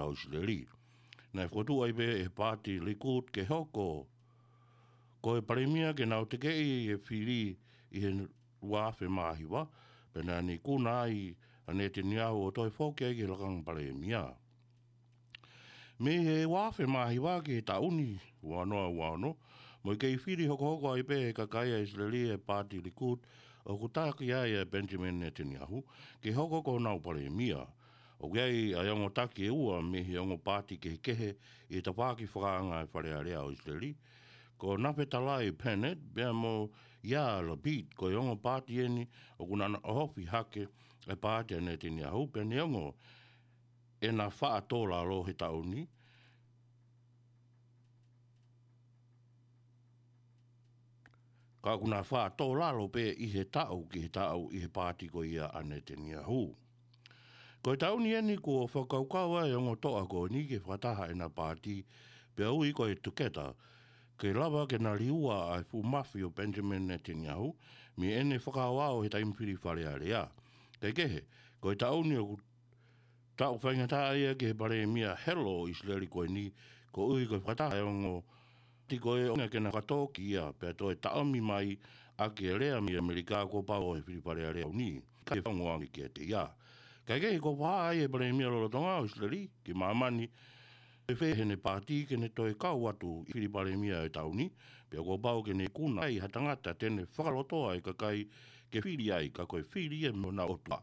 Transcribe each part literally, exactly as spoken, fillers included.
ʻo ʻIsileli. Naʻe fokotuʻu ai pē ʻe he paati Likud ke hoko ko e palēmia ke nau tekeʻi e fili ʻi he ua afe mā hiva, pea naʻe ikuna ai ʻa Netanyahu ʻo toe foki ai ki he lakanga palēmia. Mei he ua afe mā hiva ki he taʻu ni ua noa ua ono, mo e kei fili hokohoko ai pē ʻe he kakai ʻa ʻIsileli e paati Likud ʻoku taki ai ʻa Benjamin Netanyahu ke hoko ko honau palēmia. ʻOku ʻi ai ʻa e ongo taki ʻe ua mei he ongo paati kehekehe ʻi he tafaʻaki fakaanga ʻa e Fale Alea ʻo ʻIsileli, ko Naftali Bennett pea mo Yair Lapid, ko e ongo paati eni ʻoku na ʻohofi hake e paati ʻa Netanyahu pea neongo ʻena faʻa tō lalo he taʻu ni, ka ʻoku na faʻa tō lalo pē ʻi he taʻu ki he taʻu ʻi he paati ko ia ʻa Netanyahu. Ko e taʻu ni eni kuo fakakaukau ai e ongo toʻa ko eni ke fakataha ʻena paati, pea ui ko e Together, ke lava ke na liua ʻa e fuʻu mafi ʻo Benjamin Netanyahu mei heʻene fakaoao he taimi fili Fale Alea. Kae kehe, ko e taʻu ni ʻoku taʻu faingataʻa ia ki he palēmia helo ʻo ʻIsileli ko eni, koeʻuhi ko e fakataha e ongo paati ko ē ʻo ʻuhinga ke na fakatōkiʻi ia pea toe taʻomi mai ʻaki e lea mei ʻAmelika kuo pau ʻe he fili Fale Alea ʻo ʻIsileli ke faungoangi kiate ia. Kae kehe, kuo fakahā ʻe he palēmia lolotonga ʻo ʻIsileli ki māmani, ʻe fē heʻene paati ke ne toe kau atu ʻi he fili palēmia ʻo e taʻu ni, pea kuo pau ke ne ikuna ai ha tangata te ne fakalotoa e kakai ke fili ai, ka ko e fili ia mei honau ʻOtua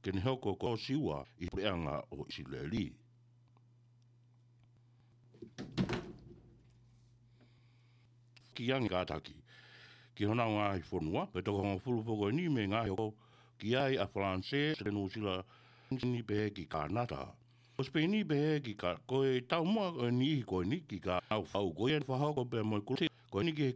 ke ne hoko ko e siua ʻi he puleʻanga ʻo ʻIsileli. Ki ange kātaki ki honau ngaahi fonua, pea toko hongofulu foki eni mei he ngaahi hoko ki ai ʻa Falanisē, Nuʻusila, Sipeini pehē ki Kānata. Ko Sipeini pehē ki Ka-, ko e taumuʻa ʻo e niʻihi ko eni ki Kānata, ʻa e fau ko ia naʻe fakahoko pea mo e kulupu ko eni ki he